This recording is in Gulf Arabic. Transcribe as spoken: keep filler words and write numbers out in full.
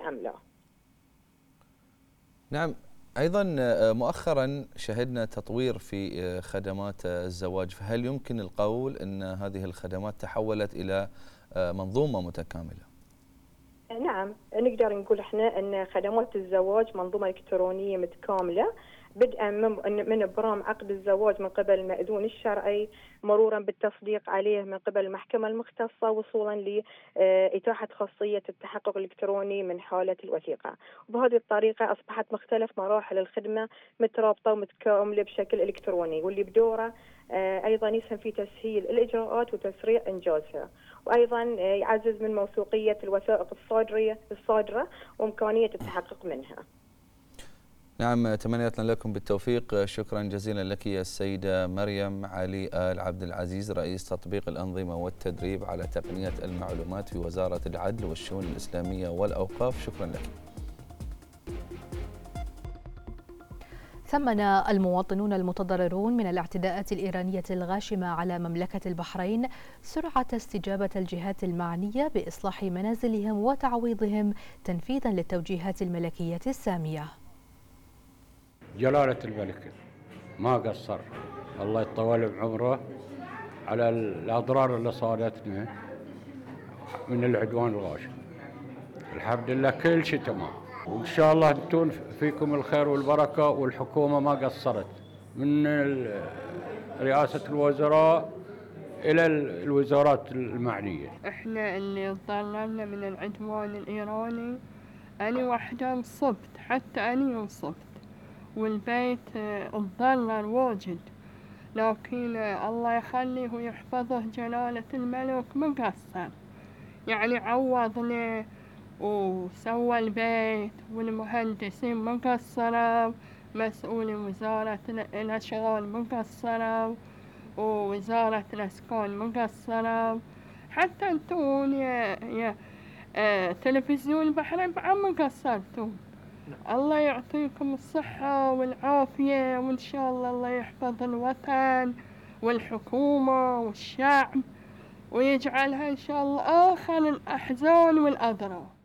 كاملة. نعم. أيضا مؤخرا شهدنا تطوير في خدمات الزواج، فهل يمكن القول أن هذه الخدمات تحولت إلى منظومة متكاملة؟ نعم، نقدر نقول احنا ان خدمات الزواج منظومة إلكترونية متكاملة، بدءا من ابرام عقد الزواج من قبل المأذون الشرعي، مرورا بالتصديق عليه من قبل المحكمة المختصة، وصولا لإتاحة خاصية التحقق الإلكتروني من حالة الوثيقة. وبهذه الطريقة أصبحت مختلف مراحل الخدمة مترابطة ومتكاملة بشكل إلكتروني، واللي بدوره أيضا يسهم في تسهيل الإجراءات وتسريع إنجازها، وأيضا يعزز من موثوقية الوثائق الصادرة الصادرة وإمكانية التحقق منها. نعم، تمنياتنا لكم بالتوفيق. شكرا جزيلا لك يا السيدة مريم علي آل عبد العزيز، رئيس تطبيق الأنظمة والتدريب على تقنية المعلومات في وزارة العدل والشؤون الإسلامية والأوقاف. شكرا لك. ثمن المواطنون المتضررون من الاعتداءات الإيرانية الغاشمة على مملكة البحرين سرعة استجابة الجهات المعنية بإصلاح منازلهم وتعويضهم تنفيذا للتوجيهات الملكية السامية. جلالة الملك ما قصر، الله يطول بعمره، على الأضرار اللي صارتنا من العدوان الغاشم. الحمد لله كل شيء تمام، وإن شاء الله انتم فيكم الخير والبركة، والحكومة ما قصرت من رئاسة الوزراء إلى الوزارات المعنية. إحنا اللي ضللنا من العدوان الإيراني، أنا وحدة انصبت، حتى أنا انصبت، والبيت اتضرر واجد، لكن الله يخليه ويحفظه جلالة الملك ما قصر، يعني عوضنا وسوى البيت، والمهندسين ما قصروا، مسؤول وزارة الأشغال ما قصروا، ووزارة الأسكان ما قصروا، حتى انتون يا, يا آه تلفزيون البحرين بعد ما قصرتوا. الله يعطيكم الصحة والعافية، وإن شاء الله الله يحفظ الوطن والحكومة والشعب، ويجعلها إن شاء الله آخر الأحزان والأضرار.